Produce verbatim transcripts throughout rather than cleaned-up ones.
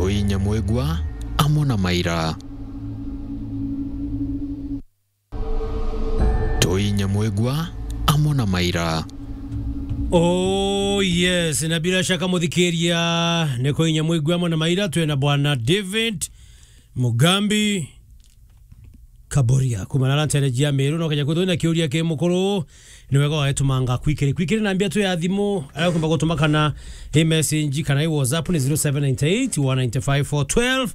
Toi Nyamwigua amo na Maira. Toi Nyamwigua amo na Maira. Oh yes, na bila shaka muthikiria ni Toi Nyamwigua amo na Maira, twina bwana David Mugambi Kaboria kuma na ntere jia Meru, no kenya kwithwa na kiuria ki mukuru, ni wega waetumanga kwikiri. Kwikiri na mbia tu ya thimu, ayo kumba gutuma kana i message kana i WhatsApp ni zero seven nine eight, one nine five, four twelve.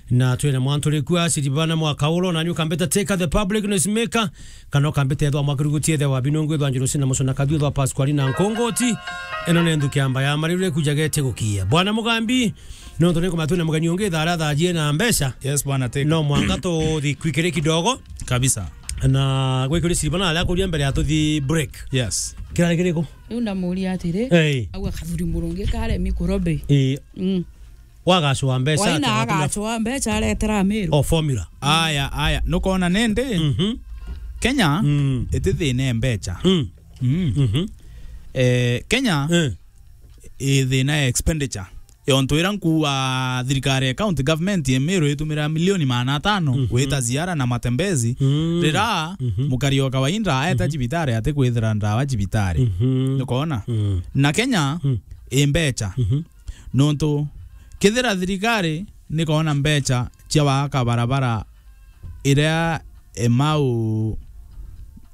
Na twina mwantu riku aciribana mwaka ulo, na ni ukambita Teka the public noise maker, kana ukambita ethwa mwakirugutie the wa Binungu, ethwa Njuru Sina Mucuna Kathu, ethwa Pasqualina Nkongoti. Ino ni nthuki amba ya marire kujagete gukia. Bwana Mugambi, nontu ni kumatu na mugeni ungi thara thajie na mbeca. Yes, bwana Teka. No mwanga tuthi kwikiri kidogo. Kabisa. Na gwikiri siribana ala kuria mbere ya tuthi break. Yes. Kirari kiriku? Riu ndamuria atiri, hey, au akathuri murungi kare mikorobe. Eh. Mm. Wagacwa mbeca. Waina atira, atira agacwa mbeca aretera Meru. O formula. Aya, aya. Nukona nende? Mhm. Kenya, mm, iti thina e mbeca. Mm. Mm. Mhm. Eh, Kenya, eh, i thina ya expenditure. Yontu ira nkuu wa thirikari ya county government ya Meru itumira milioni magana atano, mhm, gwita ziara na matembezi, mm, rira, mhm, mukari o kawaida aeta, mhm, cibitari ati kwithira ndawa cibitari. Mhm. Nukona? Mm. Na Kenya, mm, i mbeca. Mhm. Nontu kethira thirikari nikona mbeca cia waka barabara iria Emau,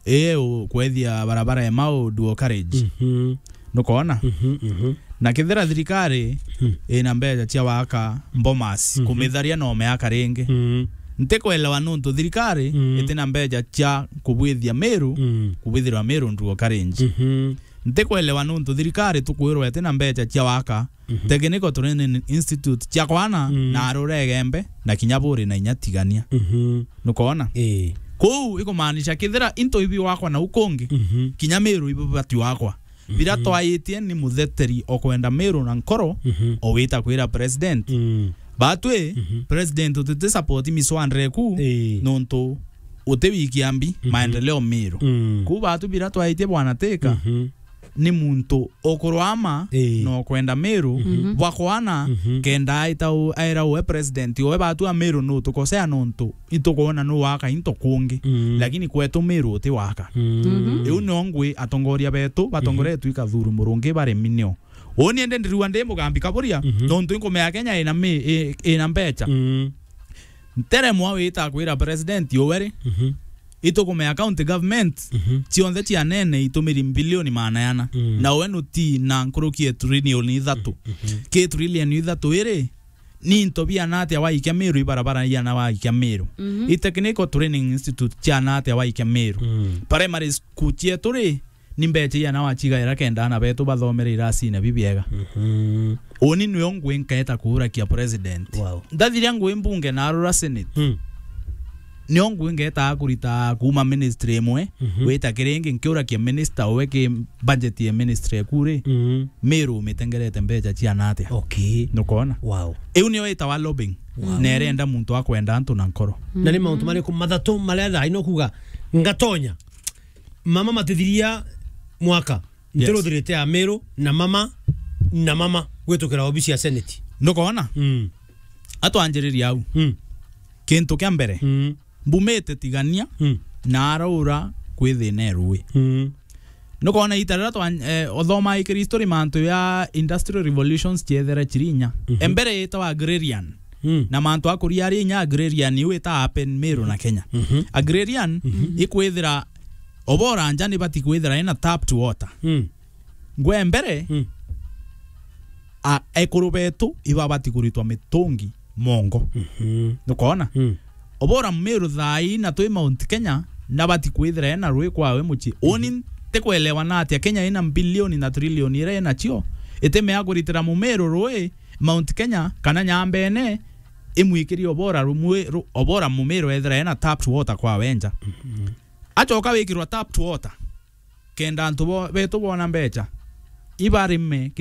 ii u-, kwethia barabara Emau Duo College. Mhm. Nukona? Mhm, mhm. Na kethira thirikari, hmm, ina mbeca cia waka Bomas, mhm, kumitharia no meaka ringi. Mhm. Ntikwelewa nontu thirikari, hmm, itina mbeca cia kubwithia Meru, hmm, kubwithirwa Meru Duo College. Mhm. Ntikwelewa nontu thirikari tukwirwa itina mbeca cia waka, mhm, Technical Training Institute cia kwana, mm, na arura Igembe, na kinya buri na inya Tigania. Mhm. Nukona? Ii. Kuu ikumaanisha kethira into ibi wakwa na ukungi, mhm, kinya Meru ibi bati wakwa. Bira, mhm, twaitie ni mutheteri o kwenda Meru na nkoro, mhm, o wita kwira president. Mm. Batwi, mhm, president utiti support miswandire ku, ii, nontu uti wikia mbi, mhm, maendeleo Meru. Mm. Kuu batu bira twaitie bwana Teka, mhm, ni muntu ukurwama, ii, na ukwenda Meru, mhm, bwa kwana, mhm, kenda aita u-, aira uwe president, uwe batu a Meru nutukosea nontu itukwona nuwaka into kungi, mm, lakini kwetu Meru uti waka. Mm. Mhm. Iu nio ngwi atongoria betu, batongoretwe, mhm, i Kathuri Murungi bari minio. Uni ende ndirua ndi Mugambi Kaburia, mhm, nontu inkumea Kenya ina mi-, i-, ina mbeca. Mm. Nteremwa wita kwira president uwe ri, mhm, itukumea county government, mhm, cionthe cia nene itumiri mbilioni magana ana. Mm. Na we nuti na nkuruki e trilioni ithatu. Mhm. Ki trilioni ithatu iri, ni into biana atia waikia Meru, ibarabara iana waikia Meru. Mhm. I Technical Training Institute ciana atia waikia Meru. Mm. Primary school cietu ri, ni mbeca iana wacigaira kenda ana betu bathomere iracine bibiega. Mhm. Uni nio ngwi nkaeta kuurakia president. Wow. Ndathiria ngwi mbunge na arura senate. Mm. Nio ngwi ngetaa kurita kuuma ministry imwe, mhm, gwita kiri ingi, nkiurakia minister uwe ki budget ya ministry eku ri, mhm, Meru umitengerete mbeca ciana atia? Okay. Nukona? Wow. Iu nio itawa lobbying. Wow. Na irenda muntu akwenda antu na nkoro. Na ni mauntu mariku mathatu maria thaa ino kuga ngatonya? Mama matithiria mwaka. Yes. Ntiruthirite ya Meru na mama, na mama gwitukira obisi ya senate. Nukona? Mm. Atwanjiriria au. Mm. Kintu kia mbere, mm, mbumite Tigania, mm, na araura kwi thina e rui. Mm. Nukona ita riria twa-, eh, uthoma ikiri history mantu ya industrial revolutions ciethere ciri inya. Mhm. Embere yetawa agrarian. Mm. Na mantu akuria ari inya agrarian iu ita happen Meru na Kenya. Mhm. Agrarian, mhm, ikwithira obora nja ni bati kwithira ina tapped water. Mm. Ngwe mbere, mm, a-, ekuru betu ibabati kuritwa mitungi mongo. Mhm. Nukona? Mm. Obora Meru thaa ii na twi Mount Kenya, nabati kwithira ena rui kwawe mucii. Uni ntikwelewa na atia Kenya ina mbilioni na trilioni iria inacio, itimea kuritira Mumeru rui Mount Kenya kana Nyambene imwikirie obora rumwe ru-, obora Mumeru ethira ena tapped water kwawe nja. Mhm. Acoka wikirwa tapped water, kenda antu bo-, betu bona mbeca, ibarime